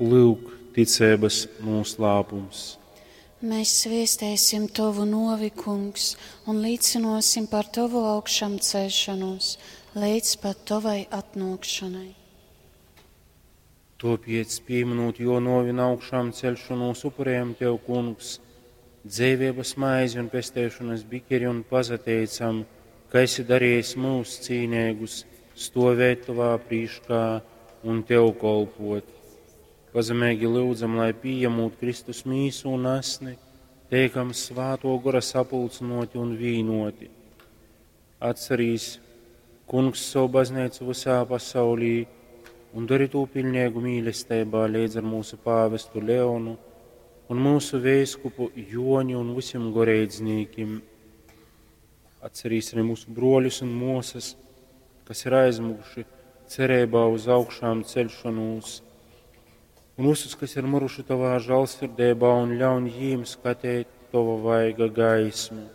Lyuk, ticeibys nūslāpums. Mēs sviestēsim Tovu novi, Kungs, un līcinosim par Tovu augšām celšanos līdz pat Tovai atnākšanai. Tāpēc, pieminot jo novi un augšām celšanos, upurējam Tev, Kungs, dzīvības maizi un pestēšanas bikeri un pazateicam, ka esi darījis mūs cīnēgus stovēt Tavā prīškā un Tev kolpot. Pazemīgi lūdzam, lai pieņemot Kristus mīsu un asni, teikam svāto gora sapulcinoti un vīnoti. Atcerīs, Kungs, savu baznīcu visā pasaulī un dari to pilnīgu mīlestībā līdz ar mūsu pāvestu Leonu un mūsu vēskupu Joni un visiem goreidznīkim. Atcerīs arī mūsu broļus un mūsas, kas ir aizmuguši cerībā uz augšām celšanos, un visus, kas ir miruši tavā žēlsirdībā, un ļaun jīm skatīt tava vaiga gaismu.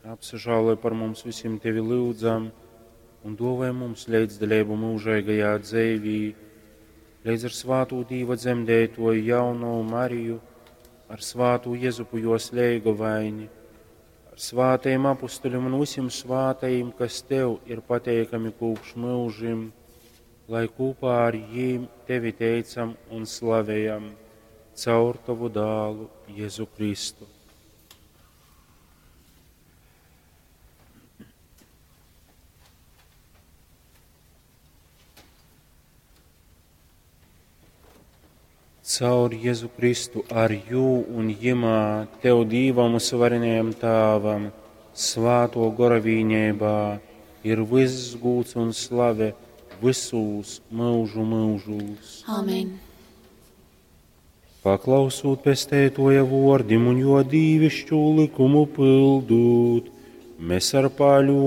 Apsažāloj par mums visiem tevi lūdzam, un dovai mums līdzdalību mūžīgajā dzīvī, līdz ar svāto Dīva dzemdētoju jauno Mariju, ar svāto Jezupu jos leigovaini, ar svātajiem apustuļiem un visiem svātajiem, kas tev ir pateikami kopš mūžim, lai kopā ar jīm tevi teicam un slavējam caur tavu dālu Jēzu Kristu. Caur Jēzu Kristu ar jū un jimā tev Dīvam un varenajam Tāvam, svāto gora vīņībā, ir viss gūts un slave visūs mūžu mūžūs. Amen. Paklausūt pestētoja vordim un jo dīvišķu likumu pildūt, mēs ar paļu